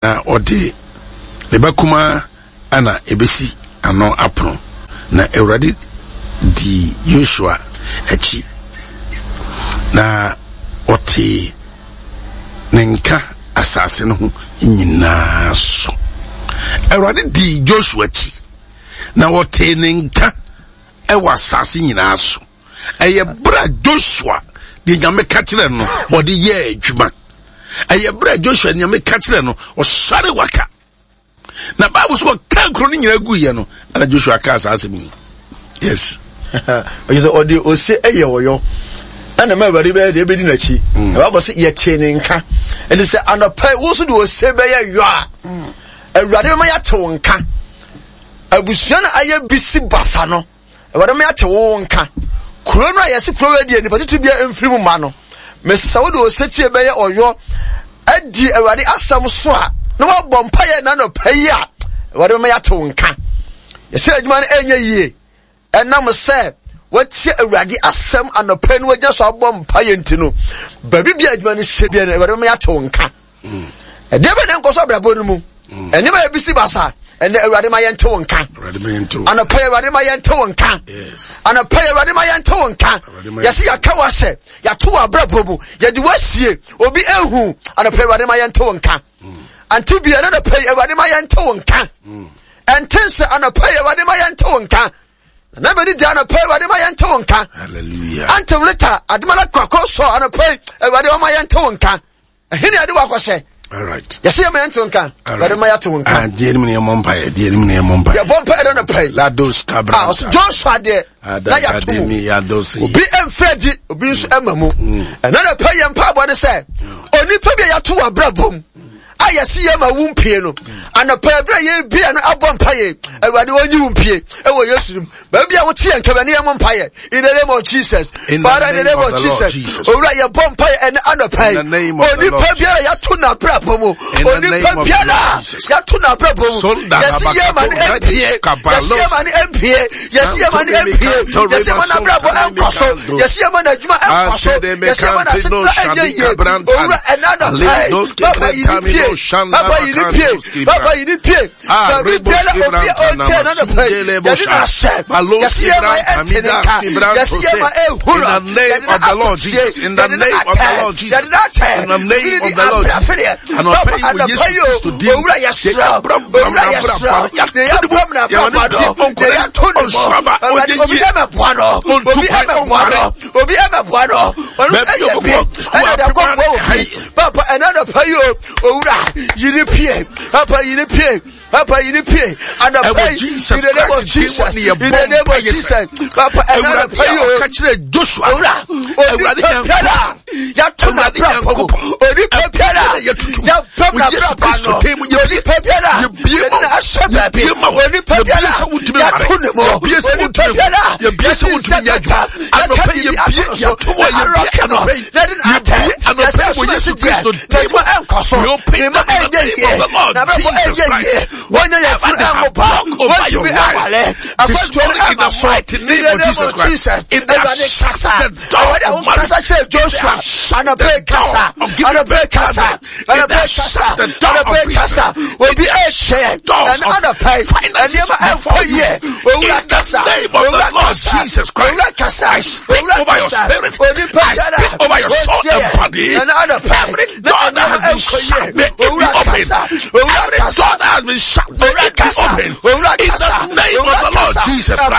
Na ɔde ne ba kumaa na ebesi ano apono. Na Awurade dii Yosua akyi, na ɔtee ne nka asase no ho nyinaa so. Awurade dii Joshua akyi, na ɔtee ne nka wɔ asase nyinaa so. Ɛyɛ berɛ a Joshua deɛ Nyame ka kyerɛ no ɔde yɛɛ adwuma. Ɛyɛ berɛ a Joshua Nyame ka kyerɛ no ɔsɔre waka. Na Bible so ɔka nkuro no nyinaa guiɛ no ɛna Joshua kaa saa asɛm yi. Yes. Ɔyɛ sɛ ɔde ose ɛyɛ ɔyɔ ɛna ma awurade bɛyɛ deɛ ɛbɛdi n'akyi. Mm. Ɛbɛbɔ sɛ yɛtee ne nka. Ɛnti sɛ anɔpa wo nso de ose bɛyɛ yɔ a mm. awurade bɛma yɛate wo nka. Abusua no ayɛ bisi basa no. Awurade ma yɛate wo nka. Kuro no a yɛse kuro wei deɛ nipa titiri biara mfiri mu mma no, mesɛ wode osetie bɛyɛ ɔyɔ adi Awurade asɛm so a na wabɔ mpaeɛ na anɔpa yi a Awurade ma yɛate wo nka. Yɛsɛ adwuma no ɛnyɛ yie ɛnam sɛ watie Awurade asɛm anɔpa yi na wagyina so abɔ mpaeɛ nti no, baabi bia adwuma no hyɛ biara no Awurade ma yɛate wo nka. Ɛdeɛ bɛ na nkɔ so abrabɔ no mu. Mm. Nneɛma yɛ bisi basa. Ɛnɛ Awurade ma yɛnte wo nka. Anɔpa yi Awurade ma yɛnte wo nka. Anɔpa yi Awurade ma yɛnte wo nka. Yɛsi yɛaka wo ahyɛ, yɛato wo abrabɔ mu, yɛde wo asie, obi ehu. Anɔpa yi Awurade ma yɛnte wo nka. Mm. Ante bia na anɔpa yi Awurade ma yɛnte wo nka. Mm. Ɛnte sɛ anɔpa yi Awurade ma yɛnte wo nka. Na bɛdi di anɔpa yi Awurade ma yɛnte wo nka. Hallelujah. Ante wleta ademala kɔkɔ sɔ anɔpa yi Awurade ma yɛnte wo nka. Ɛhe na yɛde wakɔhyɛ? Yɛsɛ yɛma yɛnto nka. Awurade ma yɛate wo nka. Ah, deɛ anim na yɛmmɔ mpaeɛ. Deɛ anim na yɛmmɔ mpaeɛ. Yɛbɔ mpaeɛ dɛ nɔpa yi. Lados kabra. Ah, ɔsɛ Joshua deɛ na yɛato mu. Obi mfiri adi, obi nso ɛma mu. Mm. Ɛna nɔpa yɛ mpaebɔ ne sɛ, onipa bi a yɛato wɔ abrabɔ mu a yɛsi yɛ ma wo mpie no anɔpa ɛberɛ a yɛbia no abɔ mpaeɛ awurade ɔnyi wo mpie ɛwɔ yesu no mu Baabi a wote yɛn kɛmɛ ne yɛn mo mpaeɛ. In the name of Jesus. Father, in the name of Jesus. Owura yɛ bɔ mpaeɛ ɛne anɔpa yi. Onipa biara yɛato n'abrabɔ mu. Onipa biara yɛato n'abrabɔ mu. Yɛsi yɛ ma ne mpie. Yɛsi yɛ ma ne mpie. Yɛsi yɛ ma ne mpie. Yɛsi yɛ ma n'abrabɔ ɛnkɔ so. Yɛsi yɛ ma n'adwuma ɛnkɔ so. Yɛsi yɛ ma n'asetena ɛnyɛ yie. Owura ɛne anɔpa yi. Papa yi ni pie. Papa yi ni pie. Papa yi ni pie. Ah, Baabi biara obi a ɔnkyɛn na nɔpɛ yi, yɛde no ahyɛ. Yɛsi yɛ ma ɛnte ne nka. Yɛsi yɛ ma ehuru. Yɛde no akotie. Yɛde no atɛ. Yɛde no atɛ. Firi ni abrafedeɛ. Papa anɔpɛ yi o, owura yɛ srɛ. Owura yɛ srɛ. Ne yɛ bɔ mu na bɔ no. Ne yɛ to ne mɔ. Awurade obi ɛmɛ boa no. Obi ɛmɛ boa no. Obi ɛmɛ boa no. Ɔno ɛyɛ bi. Ɛna de akɔ boa obi. Papa ɛna anɔpɛ yi o, owura yiri pie. Papa yi ne pie. Papa yi ne pie. Anɔpa yi. In the name of Jesus. In the name of Jesus. Papa ɛna anɔpa yi o. Ɔka kyerɛ Joshua. Owura. Onipa biara. Yàtò na abira pɔmu. Onipa biara. Yàpɛm na abira pa no. Onipa biara. Yɛde na ahyɛ baabi. Onipa biara. Yàtò ne mu. Onipa biara. Yɛde nsa kata. Yɛka biribi ato no so. Alɔke no. Yɛde na atɛ. Yɛsɛ asomasi deɛ. N'adwuma ɛnkɔ so. Ne mma ɛnyɛ yie. N'abrabɔ ɛnyɛ yie. Wɔnyɛ yɛn funu ɛnwo ba. Wɔntumi ɛnwale. Akwantuo no ɛma so. In the name of Jesus. Awurade kasa. Awurade a wokasa kyerɛ Joshua. Anɔpa kasa. Anɔpa kasa. Anɔpa kasa. Anɔpa kasa. Obi ɛhyɛ. Ɛna anɔpa yi. Nneɛma ɛnkɔ yie. Owura kasa. Owura kasa. Owura kasa. Owura kasa. Onipa biara. Wɔtie. Ɛna anɔpa yi. Every door that has been shut, may it be open. Every door that has been shut, may it be open. In the name of the Lord Jesus Christ.